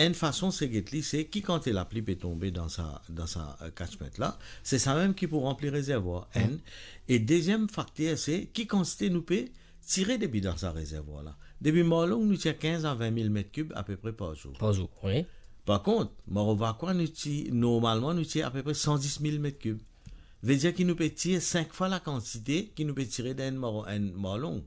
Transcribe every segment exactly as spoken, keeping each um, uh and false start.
Enn fason se get li, se ki kantite lapli pe tonbe dan sa, dan sa, eh, catchment la, se sa mem ki pou ranpli rezervwar. Enn. E deziem fakter, se ki kantite nou pe tire depi dan sa rezervwar la. Depi Marlong, nou tir kinz a vin mil met kib apepre par zour. Par zour, wi. Par kont, Maro Vakwa, nou ti-, normalman, nou tir apepre san dis mil met kib. Vedir ki nou pe tir sink fwa lakantite ki nou pe tire dan enn Maro-, enn Marlong.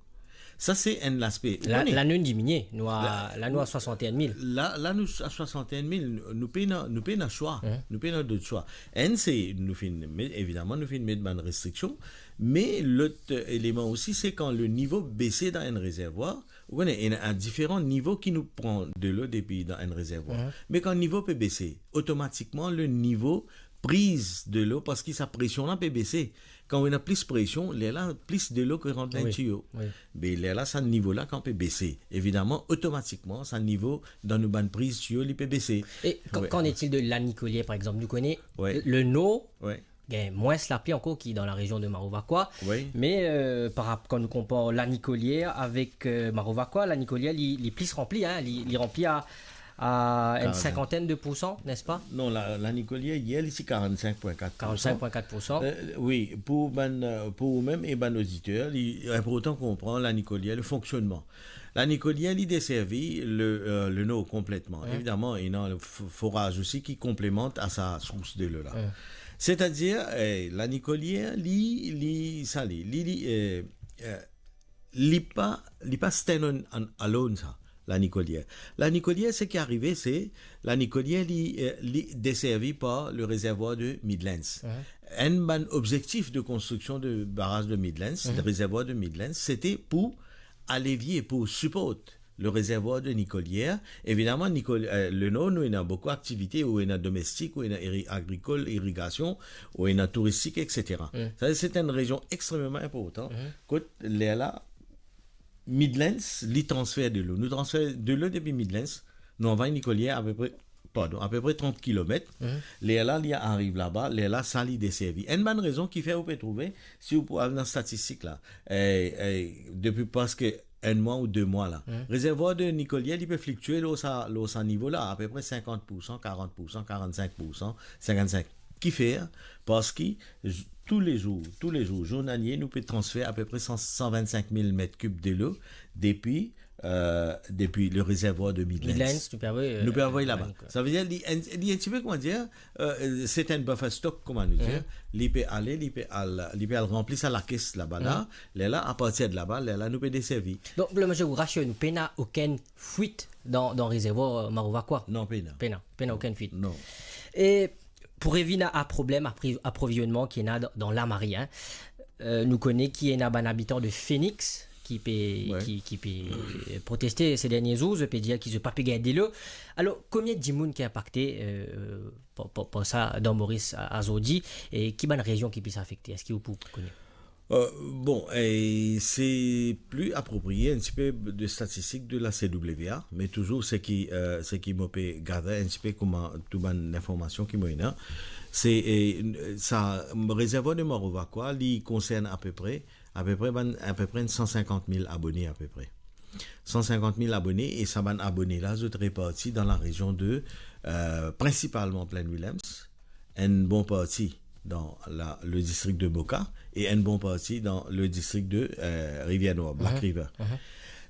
Sa, se enn laspe. Ou La, kone? La nou diminie. Nou a, La, la nou a swasantenn mil. La, la nou a swasantenn mil. Nou, nou pena, nou pena swa. Mhm. Nou pena dot swa. Enn, se nou finn met, evidaman, nou finn met bann restriksion. Me lot, eh, eleman osi, se kan le nivo bese dan enn rezervwar, ou kone, ena diferan nivo ki nou pran delo depi dan enn rezervwar. Mhm. Me kan nivo pe bese, otomatikman, le nivo priz delo, paski sa presion la pe bese. Kan ou ena plis presion, lerla plis delo ki rant dan Wi, tiyo. Wi. Be lerla sa nivo la kan pe bese, evidaman, otomatikman, sa nivo dan nou bann priz tiyo, li pe bese. E kan, Wi. Qu'en est-il de Lanikolière, par exemple? Nou kone Wi. Le Nord, Wi. Gagn mwins lapli ankor ki dan larezion de Maro Vakwa. Wi. Me, eh, par rap-, kan nou konpar Lanikolière avek, eh, Maro Vakwa, Lanikolière, li, li plis ranpli, hein, li, li ranpli a, a enn Karann. Sinkantenn de poursan, nespa? Non, la, Lanikolière, yer, li ti karannsink pwin kat poursan. Karannsink pwin kat poursan. Eh, wi, pou bann, eh, pou ou mem e bann oditer, li inportan konpran Lanikolière, le fonksionnman. Lanikolière, li deservi le, eh, le Nord konpletman. Wi. Evidaman, ena le f-, foraz osi ki konplemant a sa sours delo la. Wi. Setadir, eh, Lanikolière, li, li, sa li, li, li, eh, eh, li pa, li pa stand on, on alone sa, Lanikolière. Lanikolière, seki arive, se, Lanikolière, li, eh, li deservi par le rezervwar de Midlands. Wi. Enn bann obzektif de konstriksion de baraz de Midlands, Mhm. le rezervwar de Midlands, sete pou alevie, pou siport le rezervwar de Nikolière. Evidaman, Nikol-, eh, le Nord, nou ena boukou aktivite, ou ena domestik, ou ena iri-, agrikol, irigasion, ou ena touristik, et cetera. Mm. Sa, se enn rezion extrememan inportan, Mm. kot lerla, Midlands, li transfer delo. Nou transfer delo depi Midlands, nou anvway Nikolière apepre, pardon, apepre trant kilomet. Mm. Lerla, li ariv laba, lerla, sa li deservi. Enn bann rezon ki fer ou pe trouve, si ou pou al dan statistik la, eh, eh, depi preske enn mwa ou de mwa la. Mm. Rezervwar de Nikolière, li pe fliktue lor sa, lor sa nivo la, apepre sinkant poursan, karant poursan, karannsink poursan, sinkannsink. Kifer? Parski j-, toulezour, toulezour, zournalie, nou pe transfer apepre san, san vinn-sink mil met kib delo depi, eh, depi le rezervwar de Midlands. Midlands, nou pe anvoy, eh, Nou pe anvoy laba. Sa vedir, li enn, li enn tipe, kouma dir, eh, se enn buffer stock, kouma nou dir. Mhm. Li pe ale, li pe al, li pe al ranpli sa lakes laba la. Mhm. Lerla, apartir de laba, lerla nou pe deservi. Donk, le mezir ou rasir nou, pena okenn fwit dan, dan rezervwar, eh, Maro Vakwa? Non, pena. Pena, pena okenn fwit. Non. E pou revinn a, a problem apri-, aprovizionman ki ena dan, dan Lamarie, hein. Eh, nou kone ki ena bann abitan de Phoenix ki pe, Ouais. ki, ki pe, eh, proteste se dernie zour, zot pe dir ki zot pa pe gagn delo. Alor, komie dimoun ki inpakte, eh, par, par, par sa dan Moris a, azordi, e ki bann rezion ki plis afekte? Eski ou pou kone? Euh, bon, e se pli apropriye enn tipe de statistik de la C W A, me touzour seki, euh, seki mo pe gather enn tipe kouma tou bann linformasion ki mo ena, se, e, sa rezervwar de Maro Vakwa, li konsern apepre, apepre bann, apepre enn san sinkant mil abone apepre. San sinkant mil abone, e sa bann abone la, zot reparti dan larezion de, euh, prinsipalman Plaine Williams, enn bon parti dan la, le distrik de Boca e enn bon parti dan le distrik de, euh, Rivière Noire, Black Mhm. River. Mhm.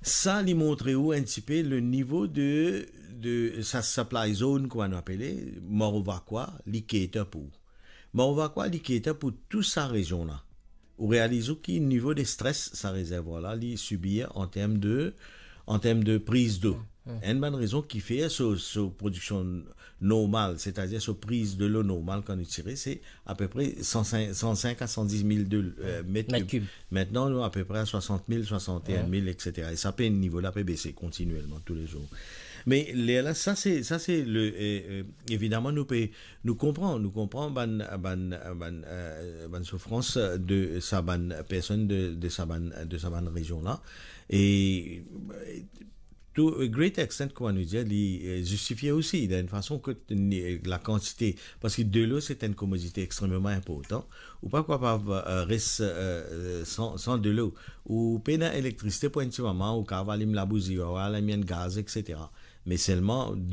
Sa, li montre ou enn tipe le nivo de, de sa supply zone, kouma nou apele, Maro Vakwa, li cater pou. Maro Vakwa, li cater pou tou sa rezion la. Ou realiz ou ki nivo de stres sa rezervwar la, li sibir an term de, an term de priz dlo. Mm, mm. Enn bann rezon ki fer so, so prodiksion normal, setadir so priz dlo normal kan nou tire, se apepre san sink, san sink a san dis mil de, euh, met Met kib. Kib. Mintnan, nou apepre a swasant mil, swasant e enn mil, Ouais. et cetera. E sa pe, nivo la pe bese kontinielman toulezour. Me lerla, sa se, sa se le, euh, euh, evidaman, nou pe, nou konpran, nou konpran bann, bann, bann, euh, bann soufrans de sa bann personn de, de sa bann, de sa bann rezion la. E, euh, to a great extent, kouma nou dir, li, euh, zistifie osi, dan enn fason ke ni, la kantite, parski dlo se enn komodite extrememan inportan, ou pa kapav, euh, res, euh, san, san dlo. Ou pena elektrisite pou enn ti moman, ou kapav alim labouzi, ou alim enn gaz, et cetera. Me selman,